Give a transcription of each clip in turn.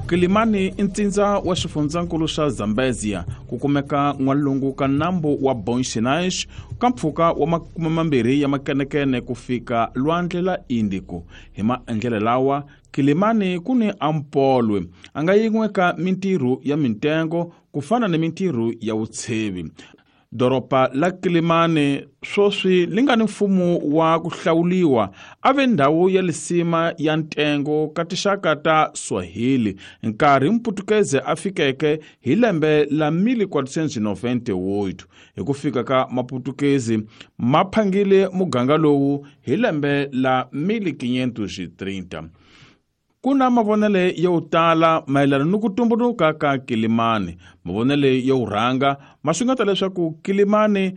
Kilimani i ntsindza wa xifundzankulu xa Zambezia, ku kumeka n'walungu ka nambu wa Bom Sinais ka mpfhuka wa 20 ya makenekene ku fika lwandle la Índico. Hi maendlele lawa, Kilimani ku ni ampolwe a nga yin'we ka mintirho ya mintengo ku fana ni mintirho ya vutshevi. Doroba la Kilimani swoswi li nga ni mfumo wa ku hlawuliwa a ve ndhawu ya lisima ya ntengo ka tinxaka ta Swahili nkarhi Mputukeze a fikeke hi lembe la 1498. Hi ku fika ka Maputukezi ma phangile muganga lowu hi lembe la 1530. Ku na mavonele yo tala mayelana ni ku tumbuluka ka Kilimani. Mavonele yo rhanga ma xungeta leswaku Kilimani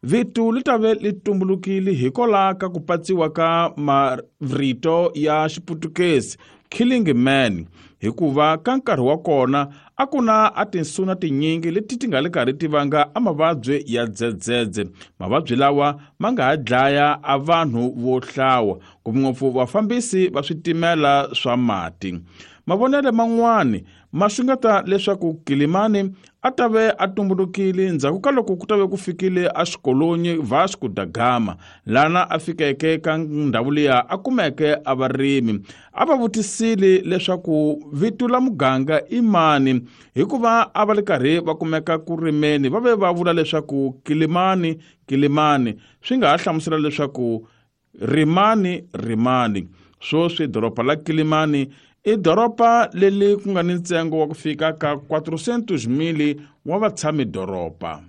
vito li ta ve li tumbulukile hikwalaho ka ku patsiwa ka marito ya Xiputukezi killing man, hikuva ka nkarhi wa kona a ku na a tinsuna tinyingi leti ti nga le karhi ti vanga a mavabyi ya dzedzedze. Mavabyi lawa ma nga ha dlaya a vanhu vo hlawa, ngopfungopfu vafambisi va switimela swa mati. Mavonele man'wani ma xungeta leswaku Kilimani a ta ve a tumbulukile ndzhaku ka loko ku ta ve ku fikile a xikolonyi Vasco da Gama, lana a fikeke ka ndhawu liya a kumeke a varimi. A va vutisile leswaku vito la muganga i mani, hikuva a va le karhi va kumeka ku rimeni, va ve va vula leswaku Kilimani, Kilimani. Swi nga ha hlamusela leswaku rimani, rimani. Swoswi doroba la Kilimani i doroba leri ku nga ni ntsengo wa ku fika ka 400,000 wa vatshami doroba.